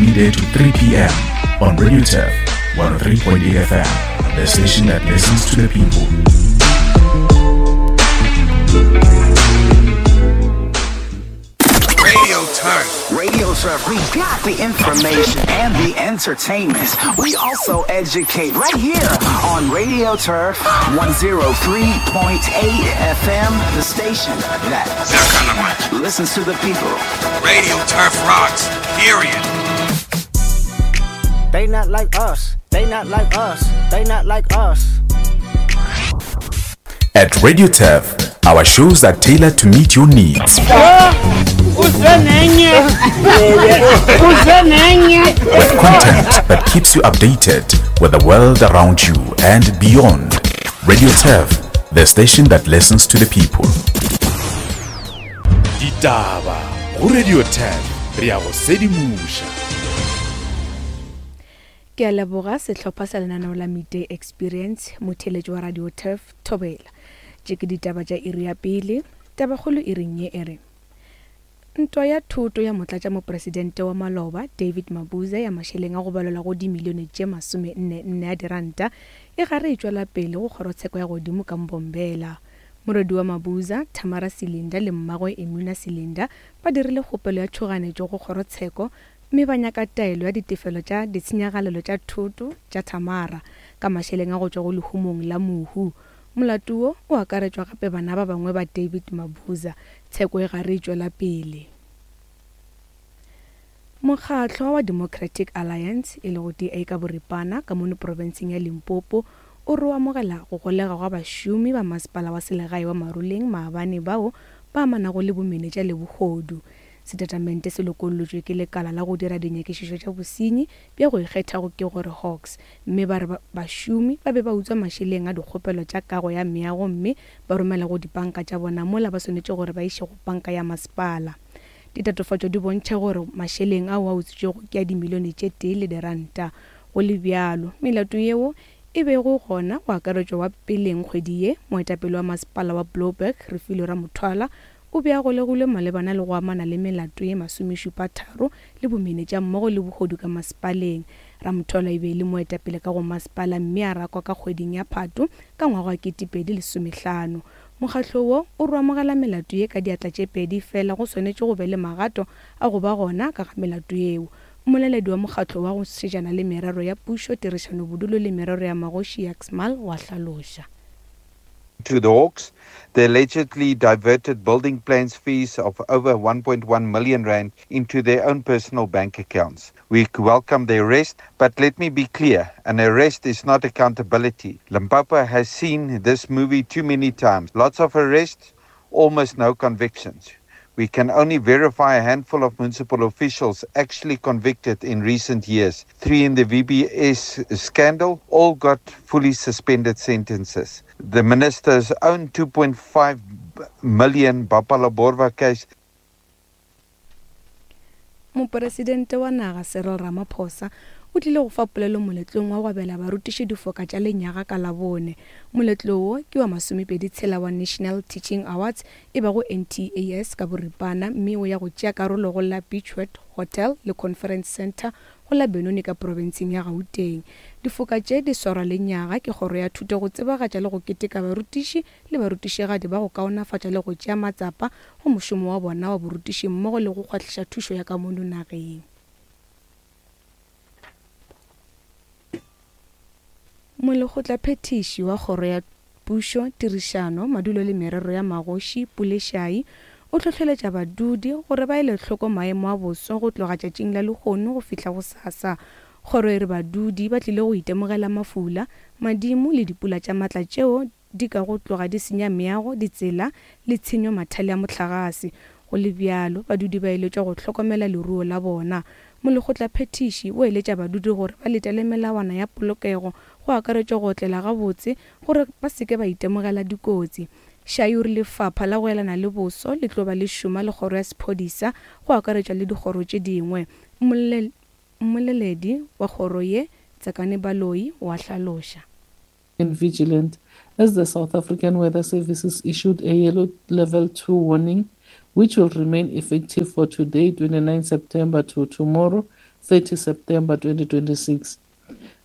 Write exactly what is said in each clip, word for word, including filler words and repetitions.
midday to three p.m. on Radio Turf one oh three point eight F M, the station that listens to the people. Radio Turf. Radio Turf, we got the information and the entertainment. We also educate right here on Radio Turf one oh three point eight F M, the station that listens to the people. Radio Turf rocks, period. They not like us. They not like us. They not like us. At Radio Turf, our shows are tailored to meet your needs. With content that keeps you updated with the world around you and beyond. Radio Turf, the station that listens to the people. Ditaba go Radio Turf, re a go sedimuša. Ke a leboga sehlopha sa lenaneo la Midday Experience, motheletši wa Radio Turf Thobela. Tše ke ditaba tša iri ya pele, tabakgolo e reng ye e re ntwa ya thoto ya motlatšamopresidente wa maloba David Mabuza ya mašeleng a go balelwa go dimilione tše masome nne nne a diranta e gare e tšwela pele go kgorotsheko ya godimo ka Mbombela. Morwedi wa Mabuza, Tamara Silinda le mmagwe Emuna Silinda ba dirile kgopelo ya tšhoganetšo go kgorotsheko mme ba nyaka taelo ya ditefelo tša ditshenyagalelo tša thoto tša Tamara ka mašeleng a go tšwa go lehumong la mohu. Molato wo o akaretšwa gape bana ba bangwe ba David Mabuza. Tsheko e gare e tšwela pele. Mokgatlo wa Democratic Alliance e lego D A ka boripana ka mono profenseng ya Limpopo o re o amogela go golega gwa bašomi ba masepala wa selegae wa Maruleng maabane bao ba amanago le bomenetša le bohodu. Setatamente se lokollotšwe ke lekala la go dira dinyakišišo tša bosenyi bja go ikgethago ke gore Hawks, mme ba re bašomi ba be ba utswa mašeleng a dikgopelo tša kago ya meago mme ba romela go dipanka tša bona mola ba swanetše gore ba iše go panka ya masepala. Ditatofatšo di bontšha gore mašeleng ao a utswitšwego ke a dimilione tše tee le diranta. Go le bjalo, melato yeo e bego gona go akaretšwa wa peleng kgwedi ye, moetapele wa masepala wa Blouberg Refilwe Ramothwala o be a golegilwe malebana le go amana le melato ye masomešupa tharo le bomenetša mmogo le bohodu ka masepaleng. Ramothwala e be e le moetapele ka go masepala mme a rakwa ka kgweding ya Phato ka ngwaga wa ketepedi lesomehlano. Mokgatlo wo o re amogela melato ye ka diatla tše pedi fela go swanetše go be le magato a go ba gona ka ga melato yeo. Mmoleledi wa mokgatlo wa go šetšana le merero ya pušo, tirišano bodulo le merero ya magoši Yaxmal wa hlaloša. To the Hawks, they allegedly diverted building plans fees of over one point one million rand into their own personal bank accounts. We welcome the arrest, but let me be clear, an arrest is not accountability. Limpopo has seen this movie too many times. Lots of arrests, almost no convictions. We can only verify a handful of municipal officials actually convicted in recent years. Three in the V B S scandal all got fully suspended sentences. The minister's own two point five million Bapalaborwa case. Mopresidente wa naga Cyril Ramaphosa o tlile go fa polelo moletlong wa go abela barutiši difoka tša lenyaga ka Labone. Moletlo wo ke wa masomepedi tshela wa National Teaching Awards e bago N T A S ka boripana, mme o ya go tšea karolo go la Beachwood Hotel le Conference Center go la Benoni ka profenseng ya Gauteng. Difoka tše di swarwa lenyaga ke kgoro ya thuto go tsebagatša le go keteka barutiši le barutišigadi ba go kaonafatša le go tšea matsapa go mošomo wa bona wa borutiši mmogo le go kgwahliša thušo ya ka mono nageng. Molekgotlaphethiši wa kgoro ya pušo, tirišano, madulo le merero ya magoši Pulešai o hlohleletša badudi gore ba ele hloko maemo a boso go tloga tšatšing la lehono go fihla go sasa. Kgoro e re badudi ba tlile go itemogela mafula, madimo le dipula tša matla tšeo di ka go tloga di senya meago, ditsela le tshenyo mathale a mohlagase. Go le bjalo, badudi ba eletšwa go hlokomela leruo la bona. Molekgotlaphethiši o eletša badudi gore ba letele melawana ya polokego go akaretšwa go otlela gabotse gore ba se ke ba itemogela dikotsi. Shai o re lefapha la go elana le boso le tlo ba le šoma le kgoro ya sephodisa go akaretšwa le dikgoro tše dingwe. Mmoleledi wa kgoro ye, Tsakane Baloyi, wa hlaloša. And vigilant as the South African Weather Services issued a yellow level two warning, which will remain effective for today, twenty-ninth September, to tomorrow, thirty September twenty twenty-six.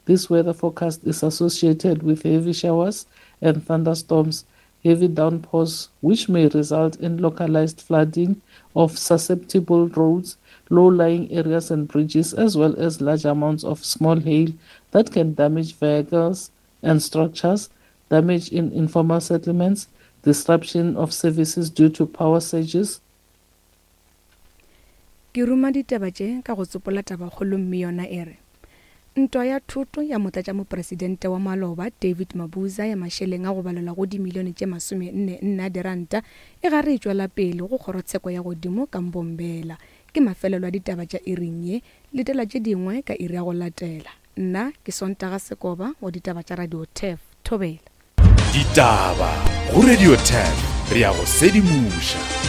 This weather forecast is associated with heavy showers and thunderstorms, heavy downpours, which may result in localized flooding of susceptible roads, low-lying areas and bridges, as well as large amounts of small hail that can damage vehicles and structures, damage in informal settlements, disruption of services due to power surges. Ke ruma ditaba tše ka go tsopola tabakgolo mme yona e re ntwa ya thoto ya motlatšamopresidente wa maloba David Mabuza ya mašeleng a go balelwa go dimilione tše masome nne nne a diranta e gare e tšwela pele go kgorotsheko ya godimo ka Mbombela. Ke mafelelo a ditaba tša iring ye, letela tše dingwe ka iri ya go latela. Nna ke Sontaga Sekoba wa ditaba tša Radio Turf. Thobela. Ditaba go Radio Turf, re ya go sedimoša.